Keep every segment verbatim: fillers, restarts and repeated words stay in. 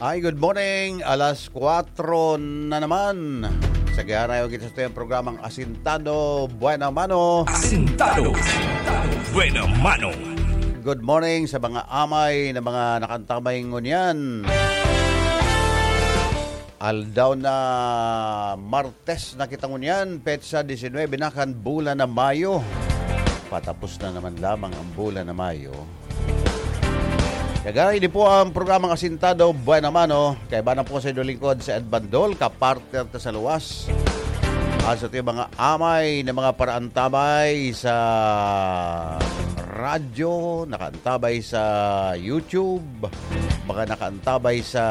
Ay, good morning. Alas kwatro na naman. Sa giharayo kita sa tuyang programang Asintado Buena Mano. Asintado Buena Mano. Good morning sa mga amay na mga nakantabay ngunyan. Aldaw na Martes na kita ngunyan, petsa disinwebe na kan bulan na Mayo. Patapos na naman lamang ang bulan na Mayo. Kagay, ini po ang programang Asintado Buena Mano. Kaiba na po sa inyong lingkod sa Ed Bandol, kapartner ta sa luwas. At sa ating mga amay na mga paraantabay sa radyo, nakaantabay sa YouTube, mga nakaantabay sa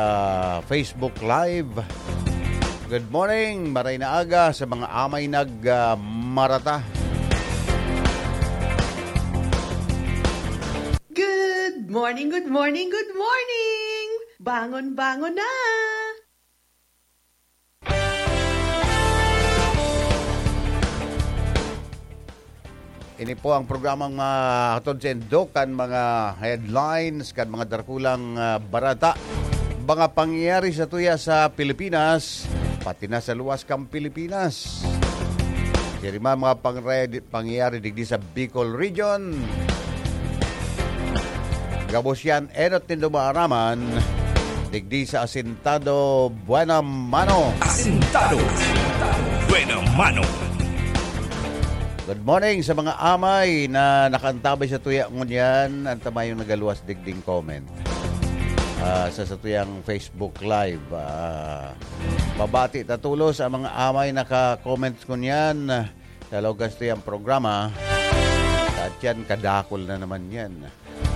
Facebook Live. Good morning, maray na aga sa mga amay nag, ah, marata. Good morning, good morning, good morning! Bangon, bangon na! Ini po ang programang mahatod sa indo kan mga headlines, kan mga dakulang, ah, barata, mga pangyayari sa tuya sa Pilipinas, pati na sa luwas kan Pilipinas. Sirima mga pangre-, pangyayari digdi sa Bicol Region. Gabos yan, enot nindo maaraman, digdi sa Asintado Buena Mano. Asintado Buena Mano. Good morning sa mga amay na nakantabay sa tuya ngunyan. Ang tamayong nagaluwas digding comment. Ah, sa, sa tuyang Facebook Live. Ah, mabati ta tulos ang mga amay naka-comment ngunyan. Sa luwas tuyang programa. At yan, kadakol na naman yan.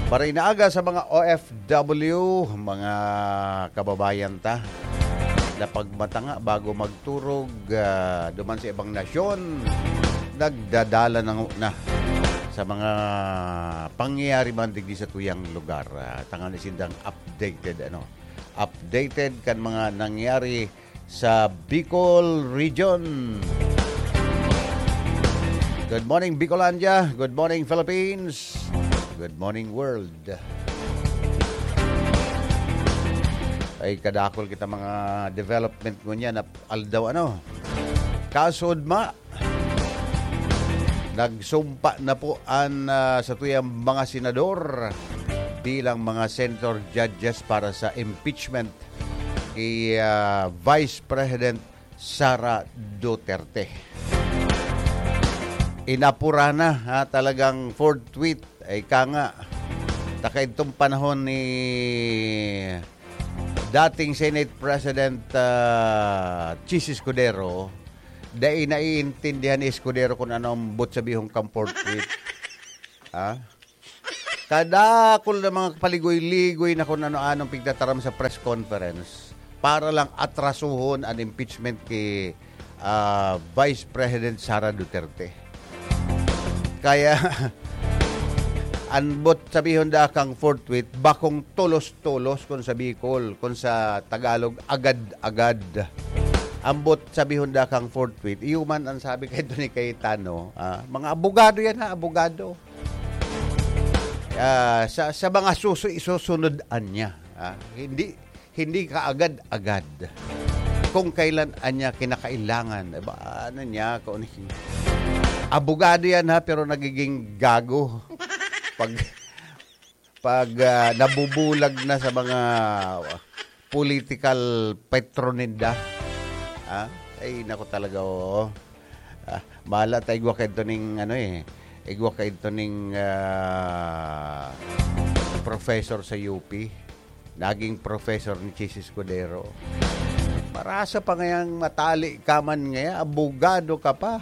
Maray na aga sa mga O F W, mga kababayan ta, na pagmatanga bago magturog, ah, duman sa ibang nasyon, nagdadala na, na sa mga pangyayari man digdi sa tuyang lugar. Ah, tangan sindang updated, ano, updated kan mga nangyari sa Bicol Region. Good morning, Bicolandia. Good morning, Philippines. Good morning, world. Ay, kadakol kita mga development ngunyan na aldaw, ano. Kasud ma, nagsumpa na po an, ah, sa tuyang mga senador bilang mga senator judges para sa impeachment kay, ah, Vice President Sara Duterte. Inapura na, ha, talagang fourth tweet, ay ka nga, ta kaidtong panahon ni dating Senate President, ah, Chiz Escudero, dai naiintindihan ni Escudero kung ano ang but sabihon kang fourth tweet. Ha? Kadakol na mga paligoy-ligoy na kung ano-anong pigtataram sa press conference para lang atrasuhon an impeachment ki, ah, Vice President Sara Duterte. Kaya, an but sabihon da kang fourth tweet, bakong tolos-tolos kun sa Bicol, kun sa Tagalog, agad-agad. An but sabihon da kang fourth tweet, iyo man an sabi kay Tony Cayetano, ah, mga abogado yan ha, abogado. Ah, sa, sa mga susu-, isusunod niya, ah, hindi, hindi kaagad-agad. Kung kailan niya kinakailangan, eh, ba, ano niya, kung ano yung, abogado yan ha, pero nagiging gago. Pag, pag, ah, nabubulag na sa mga political patron ninda. Ha? Ay, nako talaga, oo. Ah, mahala ta igwa kaidto ning, ano eh, igwa kaidto ning, ah, professor sa U P. Naging professor ni Chiz Escudero. Marasa pa ngayang matali ka man ngaya, abogado ka pa.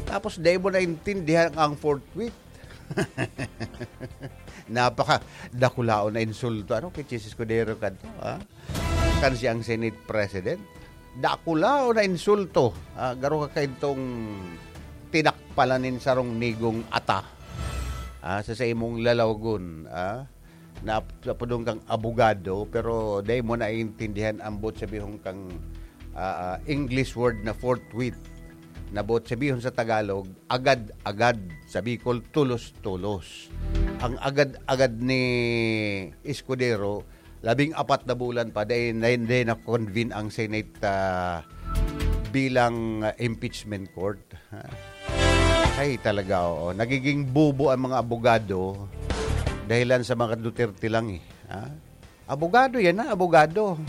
Tapos dai mo naintindihan ang fourth tweet. Napaka dakulaon na insulto, ano, kay Chiz Escudero kadto, ha? Kan siyang Senate President, dakulaon na insulto, ha? Garo ka kaidtong tinakpalan nin sarong nigong ata, ha? Sa, sa imong lalawgon, ha? Na, napudong kang abogado, pero dai mo naiintindihan ang but sabihon kang, ah, ah, English word na forthwith. Na but sabihon sa Tagalog, agad-agad. Sa Bicol, tulos-tulos. Ang agad-agad ni Escudero, Labing apat na bulan pa, dahil, dahil, dahil na-convene ang Senate, ah, bilang, ah, impeachment court. Ha? Ay, talaga, oo. Nagiging bobo ang mga abogado dahilan sa mga Duterte lang eh. Ha? Abogado yan, ha? Abogado.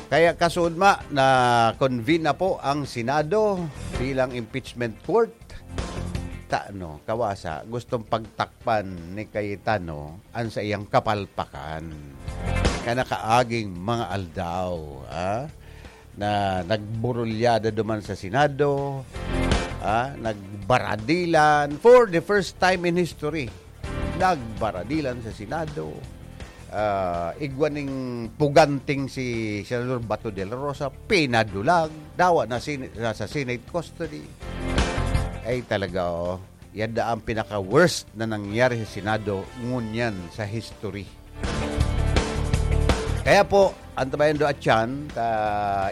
Kaya kasudma na convene na po ang Senado bilang impeachment court. Tano, kawasa, gustong pagtakpan ni Cayetano ang sa iyang kapalpakan. Kaya nakaaging mga aldaw, ha? Na nagburulyada duman sa Senado, ha? Nagbaradilan for the first time in history. Nagbaradilan sa Senado. Ah, igwa ning puganting si Senador Bato de la Rosa, pinadulag, dawa na sin-, nasa Senate custody. Ay talaga, oh. Yan da ang pinaka-worst na nangyari sa Senado ngunyan sa history. Kaya po, antabayan do at yan, ta,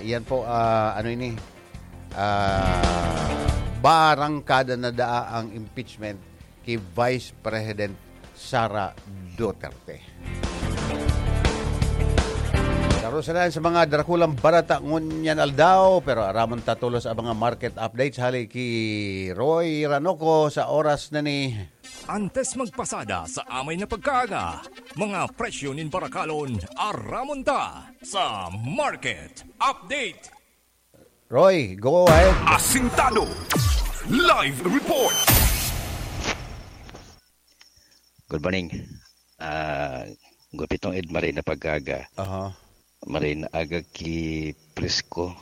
yan po, ah, ano ini, ah, barangkada na daa ang impeachment ki Vice President Sara Duterte. Darusanan sa mga drakulang barata ngunyan aldaw, pero aramon ta tolos ang mga market updates hali ki Roy Ranoco sa oras na ni. Antes magpasada sa amay na pagkaaga, mga presyo nin barakalon, aramon ta sa market update. Roy, go ahead. Asintado. Live report. Good morning. Ah, gupitong Ed, maray na pagkaaga. Aha. Maray na aga ki Prisco,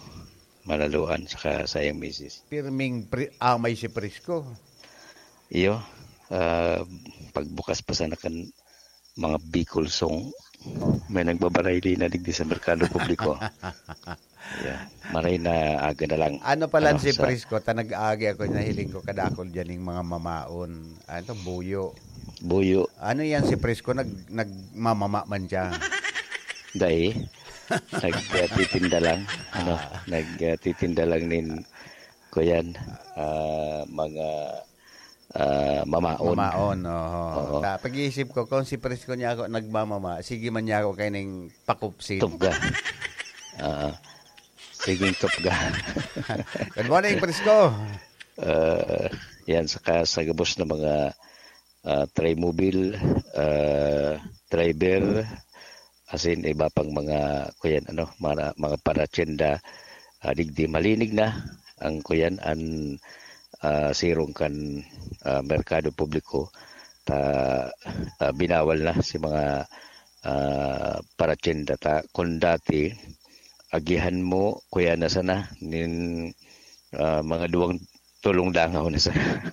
Manaluan, saka sayang misis. Pirming pri-, amay si Prisco. Iyo, ah, pagbukas pa sana kan mga Bicol song, may nagbabaray din na digdi sa merkado publiko. Yeah. Maray na aga na lang. Ano pala Ano, si sa Prisco? Ta nag-aagi ako, nahiling ko kadakol dyan yung mga mamaon. Ano to? Buyo. Buyo. Ano yan si Prisco? Nag, nagmamama man siya. Dai. Nagtitinda lang. Ano? Ah. Nagtitinda lang nin, kuyan, ah, mga, ah, mamaon. Mamaon, oho. Oo. Ta, pag-iisip ko, kung si Prisco niya ako nagmamama, sige man niya ako kaining pakupsit. Tupga. Ah, siging tupga. Good morning, Prisco. Ah, yan, saka sa gabos na mga, ah, Trimobile, ah, driver, asin iba pang mga, kuyan, ano, mga, mga paratyenda, ah, digdi malinig na ang, kuyan, an, ah, sirong kan, ah, merkado publiko. Ta, ah, binawal na si mga, ah, paratyenda ta. Kun dati, agihan mo, kuyan, na sana, nin, ah, mga duwang tolong dangaw na sana.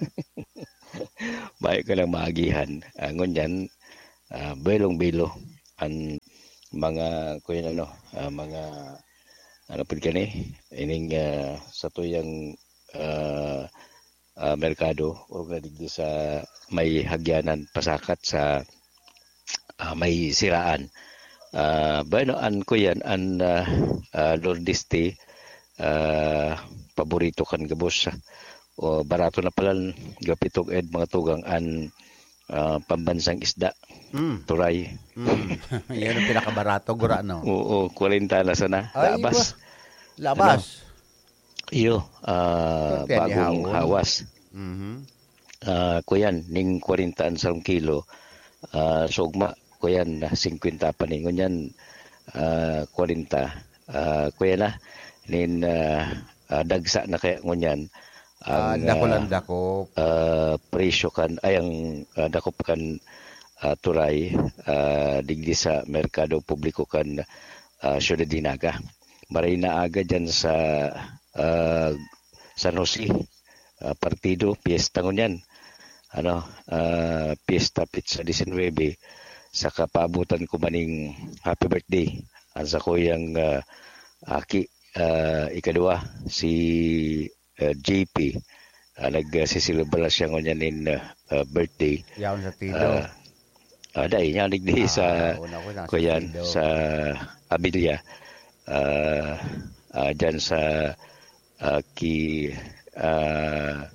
Mayo ka lang maagihan. Ah, ngunyan, ah, belong-belo an mga, kuyan, ano, ah, mga, ano pud kani, ining, ah, satuyang, ah, ah, merkado, orog na digdi sa may hagyanan pasakat sa, ah, may siraan. Ah, bueno, an, kuyan, an, ah, ah, Lourdes Tea, ah, paborito kan gabos. O, barato na pala, gapitog ed mga tugang an, ah, pambansang isda, Mm. turay. Mm. Yan ang pinakabarato, gura, no? Oo, kwarenta na sana. Ay, Labas. Ba? Labas. Ano? Iyo, ah, Kaya bagong nihawon. hawas. Mhm. Ah, kuyan, ning kwarenta an sarong kilo. Ah, sugma, kuyan, na singkwenta pa ni. Ngunyan, ah, kwarenta. Ah, kuyan na, nin, ah, ah, dagsa na kaya ngunyan. Ah, Ang, dakul ah, ang dakop. ah, presyo kan, ay, ang, ah, dakop kan, ah, turay, ah, digdi sa merkado publiko kan, ah, Syudad Dinaga. Maray na aga dyan sa, ah, San Jose, ah, partido, piyesta ngunyan. Ano, ah, piyesta, petsa disinwebe, saka paabutan ko maning happy birthday. Ang sakuyang, ah, aki, ah, ikadua, si, ah, J P. Ah, nagsiselebra siya ngunyan nin, ah, ah, birthday. Yaon sa Tido. Ah, ah, dai niya, nagdi sa, Ah, una ko na sa kuyan, Tido. sa Abilia. Ah, ah, dyan sa, ah, ki, ah,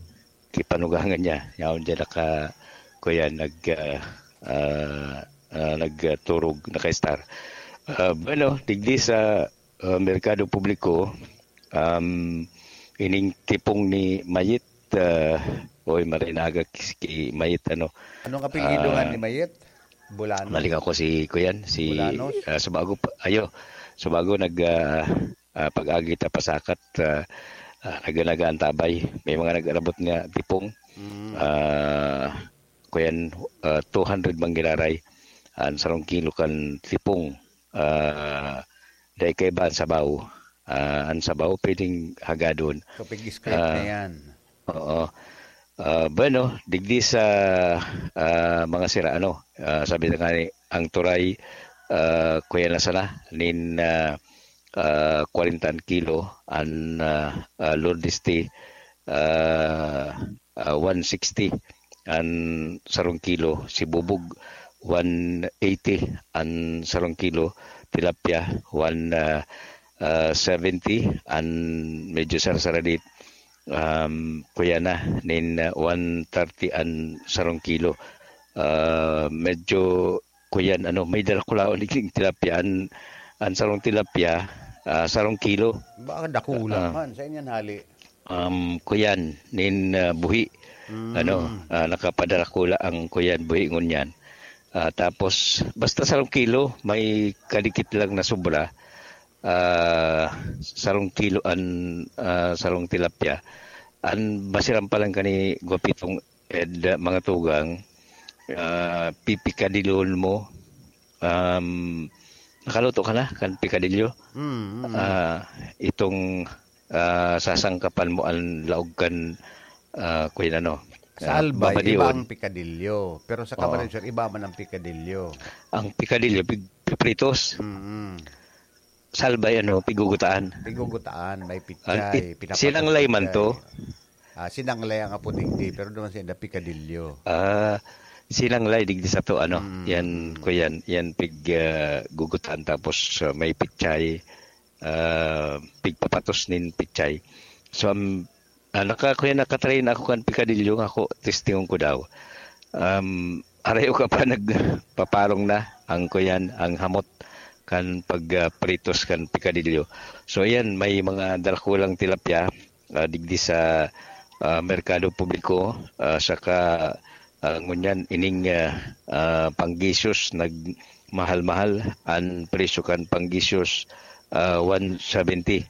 kipanugangan niya. Yaon dyan naka, kuyan, nag, ah, ah, ah, nagturog, naka-star. Ah, bueno, digdi sa, ah, merkado publiko, um, ining tipong ni Mayet, ah, oy, maray na aga ki, ki Mayet, ano. Anong apelyido nga Ah, ni Mayet? Bolanos? Mali ako si, kuyan, si, Bolanos? ah, sa bago pa, ayo, sa bago nag, ah, ah, pag-agi ta pasakat, ah, ah, naga-, nagaantabay. May mga nag-arabot nga tipong, Mm. ah, kuyan, ah, two hundred man giraray. An sarong kilo kan tipong, ah, dai kaiba an sabaw. Ah, an sabaw pwedeng hagadon. So, pig-scrape Ah, na yan. Oo. Ah, bueno, digdi sa, ah, mga sira, ano, ah, sabi na nga ni, ang turay, ah, kuya na sana, nin, ah, ah, kwarenta an kilo, an, ah, ah, Lourdes T, ah, ah, one sixty an sarong kilo, si Bubog, one eighty an sarong kilo, tilapia, one, ah, ah, seventy an medyo sarsaradit, um, kuya na, nin, ah, one thirty an sarong kilo. Ah, medyo kuyan, ano, may darakulaon digding tilapia. An, an sarong tilapia, ah, sarong kilo. Baka dakula Ah. man. Sa inyan hali? Um, kuyan, nin, ah, buhi. Mm. Ano, ah, nakapadarakula ang kuyan, buhi ngunyan. Ah, tapos, basta sarong kilo, may kadikit lang na sobra. Ah, sarong kilo an, ah, sarong tilapia. An basiran pa lang kani, Gwapitong Ed, mga tugang, ah, pipikadilyon mo. Um, nakaluto ka na kan pikadilyo? Mm, mm. Ah, itong, ah, sasangkapan mo ang laog kan, ah, kuyan ano, Sa ah, Albay, iba babadion. ang pikadilyo. Pero sa Oo. Camarines Sur, iba man ang pikadilyo. Ang pikadilyo, pig-, pipritos. Mm. Sa Albay, ano, pigugutaan. Pigugutaan, may Ang pichay, it-, pinapatos sinanglay man pichay. to. Ah, sinanglay ang apo digdi, pero duman sa inda, pikadilyo. Ah, sinanglay digdi sa to, ano, Mm, yan, mm. kuyan, yan pig, ah, gugutaan, tapos, ah, may pichay, ah, pigpapatos nin pichay. So, ang, ah, naka-, kuyan, nakatrain ako kan pikadilyo nga ako, testingon ko daw. Um, arayo ka pa nagpaparong na ang kuyan, ang hamot kan pag, ah, pritos kan pikadilyo. So, yan, may mga darakulang tilapia, ah, digdi sa, ah, merkado publiko, ah, saka, ah, ngunyan ining, ah, ah, panggisyos nagmahal-mahal an presyo kan panggisyos, ah, one seventy,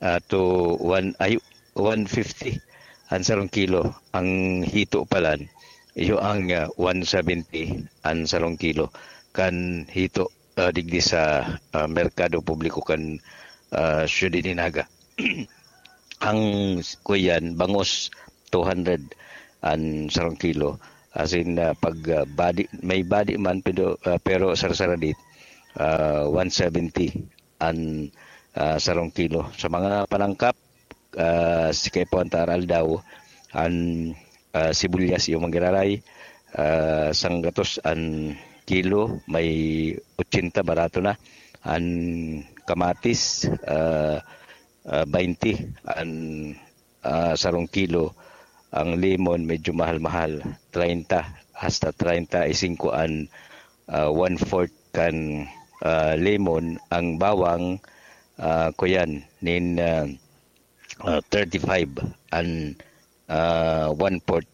ah, to one, ay, one fifty an sarong kilo. Ang hito palan, iyo ang, ah, one seventy an sarong kilo kan hito, ah, digdi sa, ah, merkado publiko kan, ah, Ciudad de Naga. Ang s-, kuyan, bangus, two hundred an sarong kilo. As in, ah, pag, ah, badi, may badi man, pero, ah, pero sarsaradit, ah, one seventy an, ah, sarong kilo. Sa mga panangkap, ah, si kaipuhan ta aral daw, an, ah, sibuyas iyo manggiraray, ah, sanggatos an kilo, may ochenta, barato na. An kamatis, ah, ah, baynte an, ah, sarong kilo. Ang lemon, medyo mahal-mahal, treinta hasta treinta y cinco an, ah, one-fourth kan, ah, lemon. Ang bawang, ah, kuyan, nin, ah, ah, thirty-five an, ah, one-fourth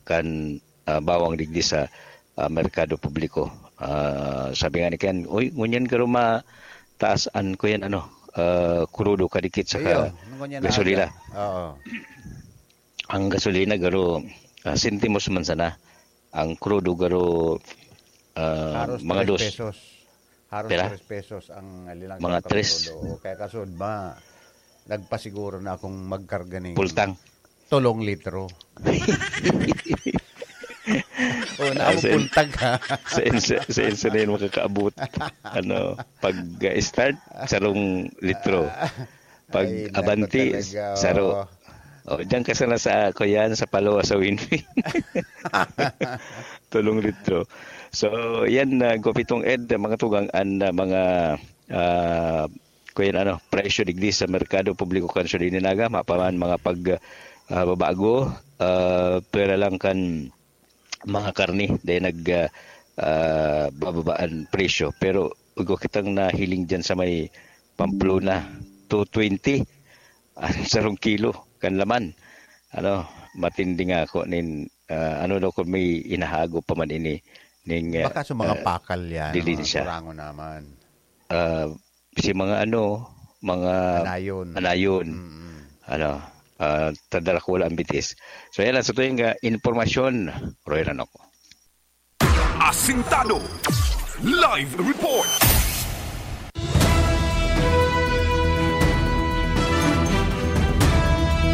kan, ah, bawang digdi sa, ah, merkado publiko. Ah, sabi nga ni Ken, "Uy, ngunyan garo mataas an kuyan, ano, ah, krudo kadikit saka Iyo, ngunyan na gasolina." aga. Oo. Ang gasolina garo, ah, sentimos man sana. Ang krudo garo, ah, Haros mga tres dos. pesos. Haros Pera? tres pesos ang lilang Mga kilo tres. krudo. O, kaya kasud ba, nagpasiguro na akong magkarga ning Pultang. tolong litro. O, Ah, naamo sen-, pultag, ha? sen-, sen-, senso na yun makakaabot. Ano, pag, uh, start, sarong litro. Pag Ay, naku abanti, talaga, saro. oh. Oh, diyan ka sana sa, kuyan, sa Paloa, sa Winwin. Tolong litro. So, yan, uh, Gwapitong Ed, mga tugang, an, uh, mga, uh, kuyan, ano, presyo digdi sa merkado publiko kan Ciudad de Naga, mapaman mga pag, ah, babago, ah, pwera lang kan mga karne, dahil nag, ah, ah, bababa an presyo. Pero igwa kitang nahiling diyan sa may Pamplona, two twenty ang sarong kilo kan laman. Ano, matindi nga ako nin, ah, ano daw kung may inahago pa man ini ning, ah, Baka sa mga ah, pakal yan, dilin mga siya. Kurango naman. Ah, si mga ano, mga Anayon. Anayon. Mm. Ano, ah, tadarakula ang bitis. So, yan lang sa tuyang, ah, impormasyon. Roy Ranok. Asintado. Live report.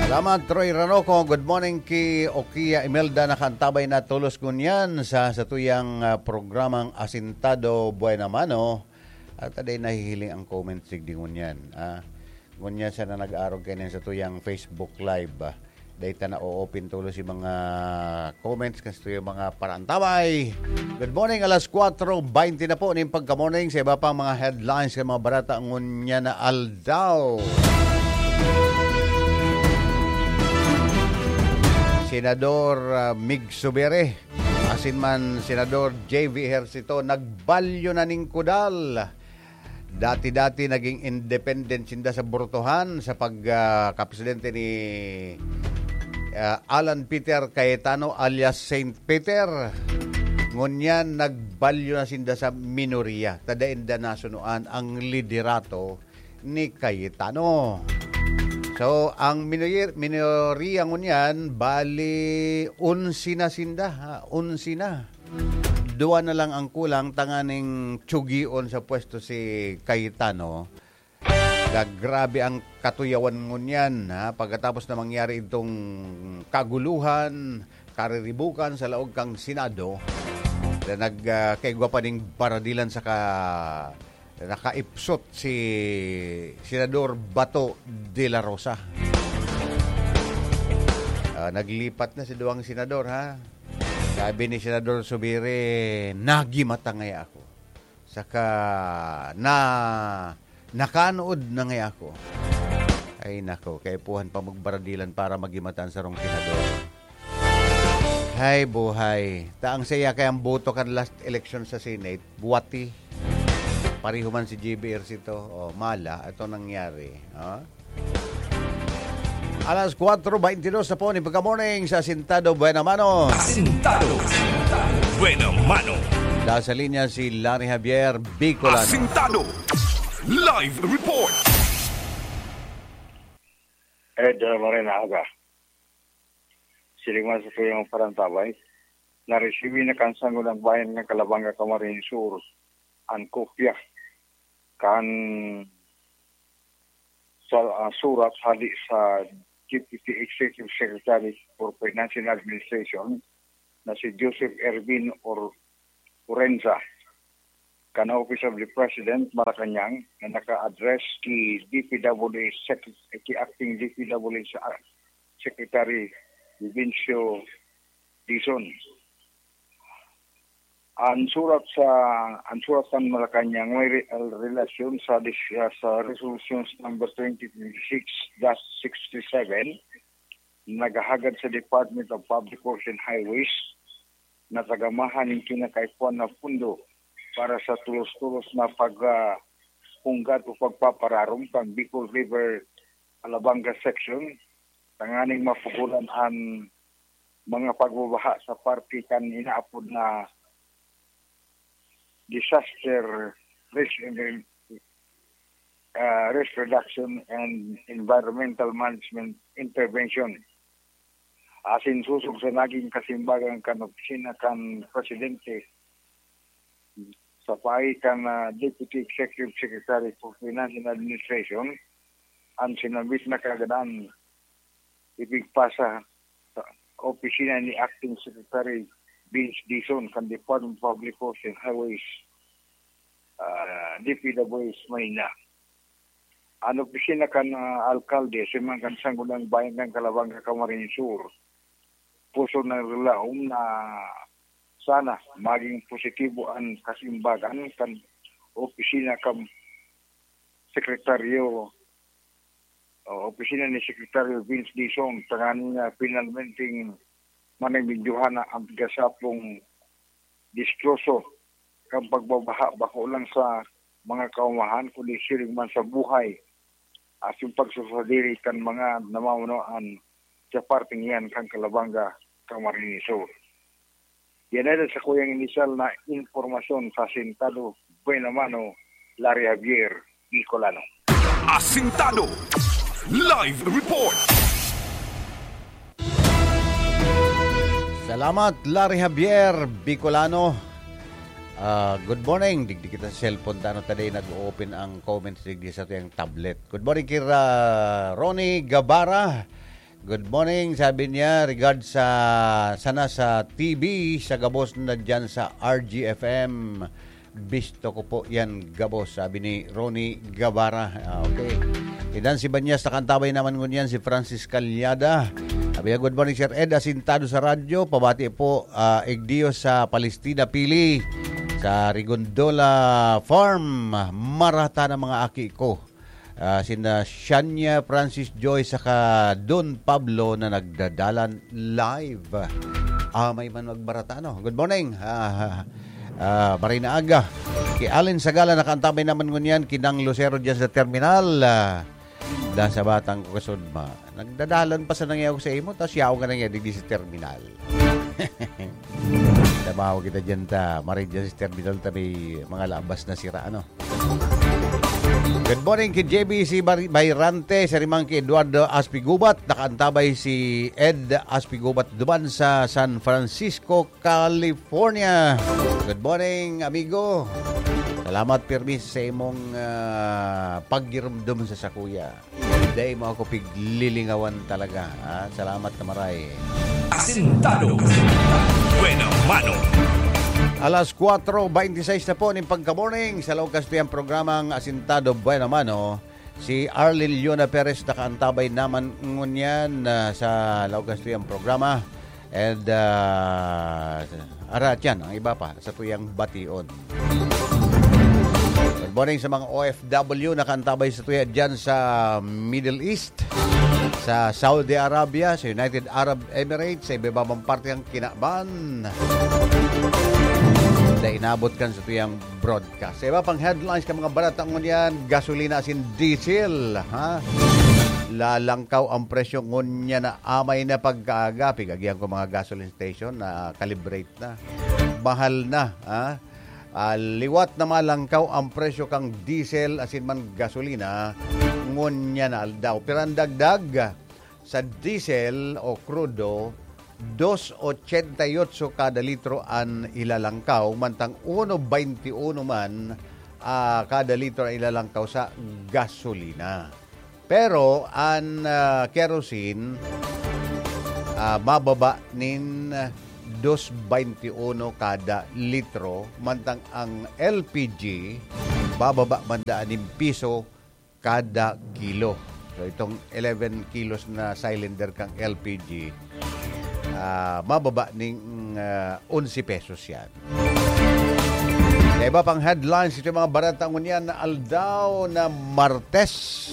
Salamat, Troy Ranoco. Good morning ki Okia Imelda, nakaantabay na tolos ngunyan sa satuyang, ah, programang Asintado Buena Mano. At aday nahihiling ang comment sigdi ngunyan, ah. Ngunyan sana nag-arog kayo sa tuyang Facebook Live, ah. Dahil ta na-open tulos yung mga comments kasi yung mga parantabay. Good morning, alas kwatro baynte na po ning pagka-morning sa iba pang mga headlines sa mga barata ngunyan na aldaw. Senador, ah, Mig Subiri, asin man Senador J V Ejercito, nagbalyo na ning kudal. Dati-dati naging independent sinda sa Bortohan sa pag, ah, kapresidente ni, ah, Alan Peter Cayetano alias Saint Peter. Ngunyan, nagbalyo na sinda sa minorya. Tada inda nasunuan ang liderato ni Cayetano. So, ang minoyer-, minorya ngunyan, bali, onse na sinda, ha? Onse na. Duwa na lang ang kulang tanganing tsugion sa pwesto si Cayetano. Ga-, grabe ang katuyawan ngunyan, ha? Pagkatapos na mangyari itong kaguluhan, kariribukan sa laog kang Senado, na nag, ah, kaigwa pa ning baradilan sa ka-, nakaipsot si Senador Bato de la Rosa. Ah, naglipat na si duwang senador, ha? Sabi ni Senador Subiri, "Nagimata ngaya ako. Saka na, nakanood na ngaya ako." Ay, nako, kaipuhan pa magbaradilan para magimata an sarong senador. Hay, buhay. Ta ang saya kay ang boto kan last election sa Senate, buwati. Pareho man si J B Ejercito. O, mala, ito nangyari. Ha? Alas kwatro baynte dos na po ni pagka-morning sa Asintado Buena Mano. Asintado. Buena Mano. Nasa linya si Larry Javier, Bicolano. Asintado. Live report. Ed, uh, Morena Aga. Siling man sa tuyang parantabay, naresibi na kan Sangguniang Bayan kan Calabanga, Camarines Sur, an kopya kan sa, ah, surat hali sa Deputy Executive Secretary for Finance and Administration na si Joseph Ervin Or-, Orenza kan Office of the President, Malacañang, na naka-address ki D P W H Sec-, ki Acting D P W H Secretary Vincio Dizon. An surat sa, an surat kan Malacañang may re-, relasyon sa dis-, ah, sa Resolutions number twenty twenty-six dash sixty-seven, naghahagad sa Department of Public Works and Highways na tagamahan nin kinakaipuhan na pondo para sa tulos-tulos na pag, ah, punggat o pagpapararom kan Bicol River Alabanga Section, tanganing mapugolan an mga pagbabaha sa parte kan inaapod na disaster risk and, ah, risk reduction and environmental management intervention. Asin sosog sa naging kasimbagan kan opisina kan presidente sa paagi kan, ah, Deputy Executive Secretary for Finance and Administration, an sinambit na kaganahan ipigpasa sa opisina ni Acting Secretary Vince Dizon kan Department of Public Works and Highways, ah, D P W H Manila. An opisina kan, ah, alkalde, asin man kan Sangguniang Bayan kan Calabanga, Camarines Sur, pusog na naglaom na sana magin positibo an kasimbagan kan opisina kan Sekretaryo, o opisina ni Sekretaryo Vince Dizon, tanganing, ah, finalmenteng manimidyohan na an gasapong distroso kan pagbabaha bako lang sa mga kaumahan, kundi siring man sa buhay asin pagsusadiri kan mga namamanuan sa parteng iyan kan Calabanga, Camarines Sur. Yan ay sa kuyang inisyal na impormasyon sa Asintado Buena Mano, Larry Javier, Bicolano. Asintado Live Report. Salamat, Larry Javier Bicolano. Ah, good morning. Digdi kita sa cellphone, tano ta dai nag-open ang comments digdi sa tuyang tablet. Good morning, Kira Ronnie Gabara. Good morning, sabi niya, regards sa sana sa T V, sa gabos na dyan sa R G F M. Bisto ko po yan, gabos, sabi ni Ronnie Gabara. Ah, okay. Idan si Banyas, nakantabay naman ngunyan si Francis Calyada. Sabi niya, good morning, Sir Ed, asintado sa radyo. Pabati po, ah, Igdiyo sa Palestina, Pili. Sa Rigondola Farm, marata na mga aki ko. Ah, sina Shania Francis Joy saka Don Pablo na nagdadalan live. Ah, may man magbarata, no? Good morning. Ah, ah, maray na aga. Ki Allen Sagala, nakantabay naman ngunyan, ki Nang Lucero dyan sa terminal. Ah, da sa batang ko kasudma. Nagdadalan pa sa nangyaw sa imo, tapos yaw ka na nga digdi sa terminal. Trabaho kita dyan ta. Maray dyan sa terminal ta may mga labas na sira, ano? Good morning ki J B C Bar- Bayrante, sa rimang ki Eduardo Aspigubat. Nakaantabay si Ed Aspigubat duman sa San Francisco, California. Good morning, amigo. Salamat pirmi sa imong ah, paggirumdom sa sakuya. Dai mo ako piglilingawan talaga. Ha? Salamat na maray. Asintado. Buena mano. Alas kwatro beintiseis na po ning pagka-morning sa laog kastuyang programang Asintado Buena Mano. Si Arlene Leona Perez nakaantabay naman ngunyan ah, sa laog kastuyang programa. And uh, ara tiyan, ang iba pa sa tuyang bation. Good morning sa mga O F W nakaantabay sa tuya dyan sa Middle East, sa Saudi Arabia, sa United Arab Emirates, sa iba-ibang parte ng kinaban. Na inabot kan sa tuyang broadcast. Sa iba pang headlines kan mga barata ngunyan, gasolina asin diesel, ha? Lalangkaw ang presyo ngunyan na amay na pagkaaga. Pigagihan ko mga gasoline station na calibrate na. Mahal na, ha? Ah, liwat na malangkaw ang presyo kang diesel asin man gasolina ngunyan na aldaw. Pero ang dagdag sa diesel o krudo, dos ochenta y ocho kada litro an ilalangkaw, mantang uno baynti uno man ah, kada litro an ilalangkaw sa gasolina. Pero an ah, kerosene ah, mababa nin dos baynti uno kada litro, mantang ang L P G bababa man daan nin piso kada kilo. So itong eleven kilos na cylinder kang L P G, ah, mababa ning ah, onse pesos yan. Sa iba pang headlines, ito yung mga barata ngunyan na aldaw na Martes.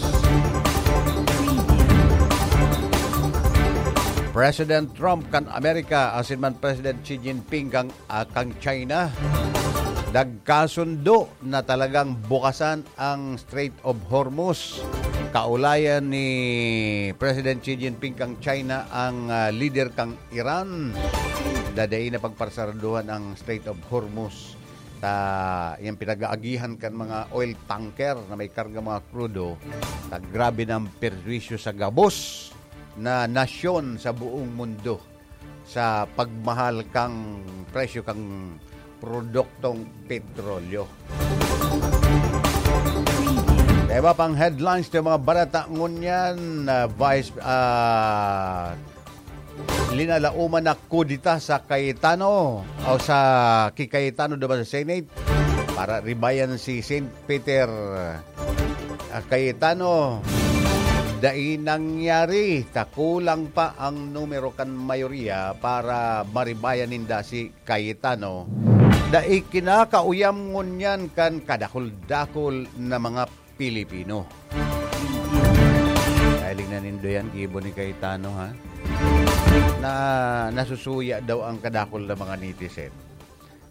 President Trump kan Amerika, asin man President Xi Jinping kang, ah, kang China, nagkasundo na talagang bukasan ang Strait of Hormuz. Kaulayan ni President Xi Jinping kang China ang ah, lider kang Iran. Dadai na pagparsaraduhan ang Strait of Hormuz. Ta, yung pinag-aagihan kan mga oil tanker na may karga mga krudo, ta grabe na ang perwisyo sa gabos na nasyon sa buong mundo sa pagmahal kang presyo kang produktong petrolyo. Diba pang headlines ng mga barata ngunyan, ah, Vice ah, linalauman na kudita sa Cayetano o sa ki Cayetano duman sa Senate para ribayan si Saint Peter ah, Cayetano. Dai nangyari, ta kulang pa ang numero kan mayoriya para maribayan ninda si Cayetano. Dai kinakauyam ngunyan kan kadakul-dakul na mga Pilipino. Kahiling na nindo yan, gibo ni Cayetano, ha? Na nasusuya daw ang kadakul na mga netizen.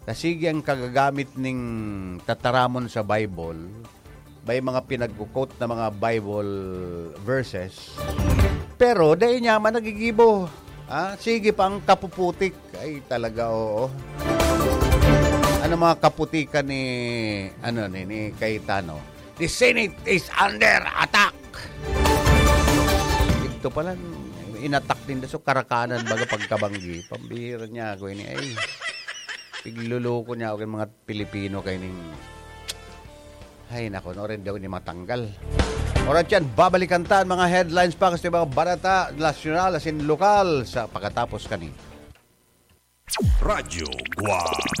Ta sige ang kagagamit ning tataramon sa Bible, may mga pinagko-quote na mga Bible verses, pero dai niya man nagigibo. Ah, sige pa ang kapuputik. Ay, talaga, oo. Ano mga kaputikan ni, ano, ni, ni Cayetano? "The Senate is under attack." Ito pala, inatak din so karakanan baga pagkabanggi. Pambihira niya ako ini. Ay, pigluloko niya ako yung mga Pilipino kay ning... Ay, nako, no, rin daw ni matanggal. Oras yan, babalikan ta ang mga headlines pa kasi mga balita nasyonal asin lokal sa pagkatapos kani. Radyo Guwang.